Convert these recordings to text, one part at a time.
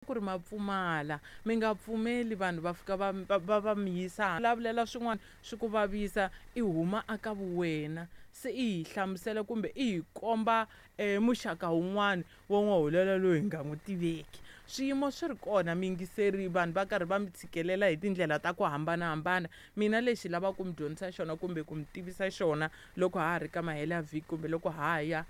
Ku ri ma pfumala mi nga pfumeli vanhu va fika va va va mi yisa vulavulela swin'wana swi ku vavisa i huma aka vuwena se i hi hlamusela kumbe i hi komba muxaka wun'wana wa n'waholela loyi hi nga n'wi tiveki. Swiyimo swi ri kona miyingiseri vanhu va karhi va mi tshikelela hi tindlela ta ku hambanahambana. Mina lexi lavaka ku mi dyondzisa xona kumbe ku mi tivisa xona loko ha ha ri ka mahelo ya vhiki kumbe loko ha ha ya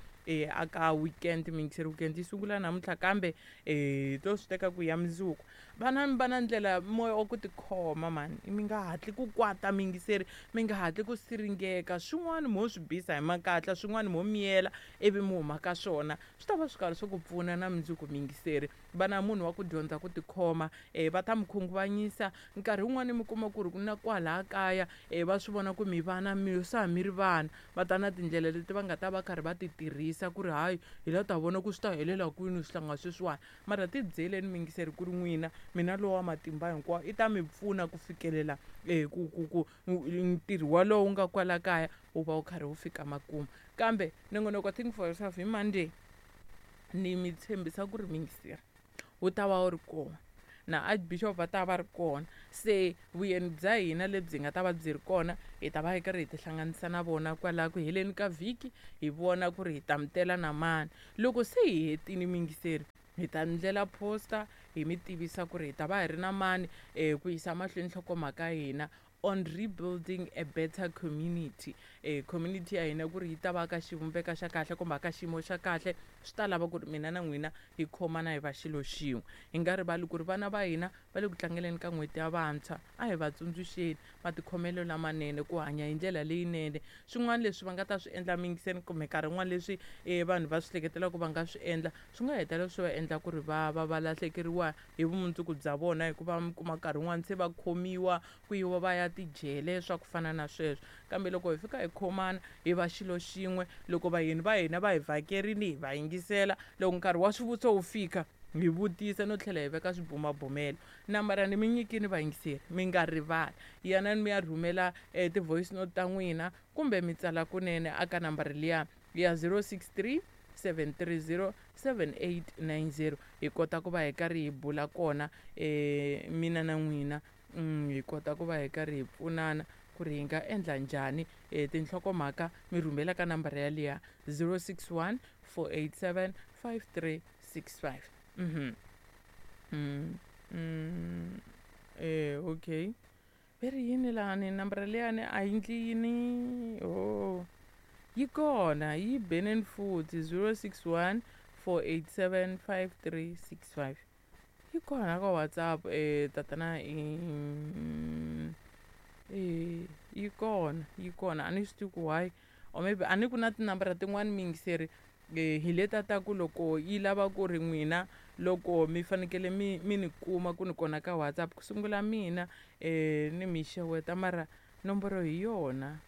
aka weekend miyingiseri weekend yi sungula namuntlha kambe hi to swi teka ku ya mundzuku. Vana mi va na ndlela moya wa ku tikhoma mhani mi nga hatli ku kwata miyingiseri mi nga hatli ku siringeka swin'wana mo swi bisa hi makatla swin'wana mo miyela ivi mi huma ka swona swi ta va swi karhi swi ku pfuna na mundzuku miyingiseri. Va na munhu wa ku dyondza ku tikhoma va ta mi khunguvanyisa nkarhi wun'wani mi kuma ku ri na kwalaya kaya va swi vona ku mi vana mi sa mi ri vana va ta na tindlela leti va nga ta va karhi va ti tirhisa ku ri hayi hi la ta vona ku swi ta helela kwini swihlanga sweswiwani mara ti byeleni miyingiseri ku ri n'wina mina lowa matimba hinkwawo i ta mi pfuna ku fikelela ku ku ku ntirho walowo wu nga kwala kaya wu va wu karhi wu fika makumu kambe nongonoko think for yourself hi Monday ni mi tshembisa ku ri miyingiseri wu ta va wu ri kona na archbishop va ta va ri kona se vuyeni bya hina lebyi nga ta va byi ri kona hi ta va hi karhi hi tihlanganisa na vona kwalaha ku heleni ka vhiki hi vona ku ri hi ta mi tela na mani loko se hi hetile miyingiseri hi ta ndlela poster hi mi tivisa ku ri hi ta va hi ri na mani ku yisa mahlweni nhlokomhaka ya hina on rebuilding a better community. Community ya hina ku ri yi ta va ka xivumbeko xa kahle kumbe ka xiyimo xa kahle swi ta lava ku ri mina na n'wina hi khomana hi va xilo xin'we. Hi nga rivali ku ri vana va hina va le ku tlangeleni ka n'hweti ya vantshwa a hi va tsundzuxeni matikhomelo lamanene ku hanya hi ndlela leyinene. Swin'wana leswi va nga ta swi endla miyingiseni kumbe nkarhi wun'wani leswi vanhu va swi hleketelaka va nga swi endla swi nga hetelela swi va endla ku ri va va va lahlekeriwa hi vumundzuku bya vona hikuva mi kuma nkarhi wun'wani se va khomiwa ku yiwa va ya tijele swa ku fana na sweswo. Kambe loko hi fika hi khomana hi va xilo xin'we loko vayeni va hina va hi vhakerile hi va yingisela loko nkarhi wa swivutiso wu fika hi vutisa no tlhela hi veka swibumabumelo. Nambara ni mi nyikile vayingiseri mi nga rivali yanani mi ya rhumela ti-voice note ta n'wina kumbe mi tsala kunene aka nambara liya ya 063 730 7890 hi kota ku va hi karhi hi bula kona mina na n'wina hi kota ku va hi karhi hi pfunana ku ri hi nga endla njhani tinhlokomhaka mi rhumela ka nambara yaliya 061 487 5365 okay ve ri yini lani nambara liyani a yi ndli yini oh yi kona yi beneni futhi 061 487 5365 yi kona ka WhatsApp tatana yi kona yi kona a ni swi tivi ku why or maybe a ni ku na tinambara tin'wani miyingiseri hi leta ta ku loko yi lava ku ri n'wina loko mi fanekele mi mi ni kuma ku ni kona ka WhatsApp ku sungula mina ni mi xeweta mara nomboro hi yona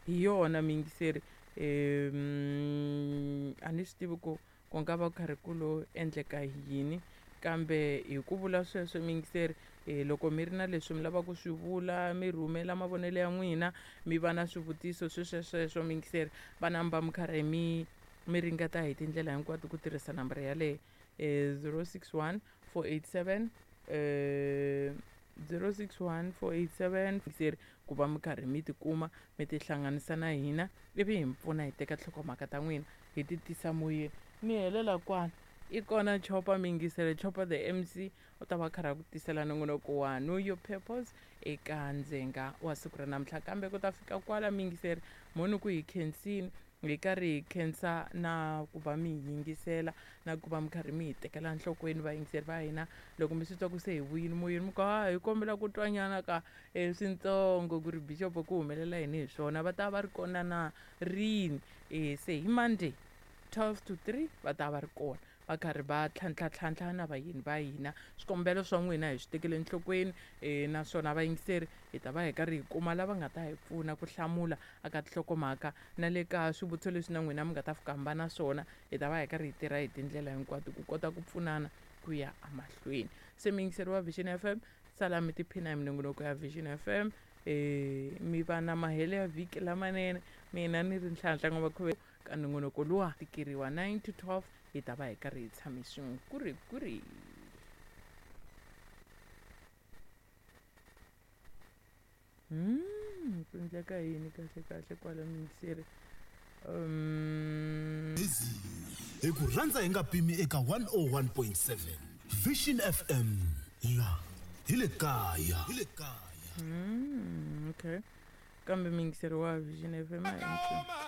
hi yona miyingiseri a ni swi tivi ku ku nga va ku karhi ku lo endleka yini kambe hi ku vula sweswo miyingiseri loko mi ri na leswi mi lavaka ku swi vula mi rhumela mavonelo ya n'wina mi va na swivutiso sweswo sweswo miyingiseri va namba mi karhi mi mi ringeta hi tindlela hinkwato ku tirhisa nambara yaleyo 061 487 061 487 seri ku va mi karhi mi tikuma mi tihlanganisa na hina ivi hi mi pfuna hi teka nhlokomhaka ta n'wina hi ti tisa moyeni mi helela kwala i kona Chopa miyingiselo Chopa the MC u ta va karhi a ku tisela nongonoko wa know your purpose eka ndzenga wa siku ra namuntlha kambe ku ta fika kwala miyingiseri mhoni ku hi khensini hi karhi hi khensa na ku va mi hi yingisela na ku va mi karhi mi hi tekela nhlokweni vayingiseri va hina loko mi swi twa ku se hi vuyile moyeni mi ku ha hi kombela ku twanyana ka swintsongo ku ri bishop ku humelela yini hi swona va ta va ri kona na rini se hi Monday 12 to 3 va ta va ri kona va karhi va tlhantlha na vayeni va hina swikombelo swa n'wina hi swi tekele enhlokweni naswona vayingiseri hi ta va hi karhi hi kuma lava nga ta hi pfuna ku hlamula aka tinhlokomhaka na le ka swivutiso leswi na n'wina mi nga ta fika mi va na swona hi ta va hi karhi hi tirha hi tindlela hinkwato ku kota ku pfunana ku ya emahlweni se muyingiseri wa Vision FM sala mi tiphina hi minongonoko ya Vision FM mi va na mahelo ya vhiki lamanene mina ni ri Nhlanhla N'wavakhuve ka nongonoko luwa tikeriwa 9 to 12. Hi ta va hi karhi hi tshame swin'we ku ri ku ri. Ku endleka yini kahle kahle kwala miyingiseri? Hi ku rhandza hi nga pimi eka 101.7 Vision FM la hi le kaya. Hi le kaya. Okay. Kambe miyingiseri wa Vision FM a hi.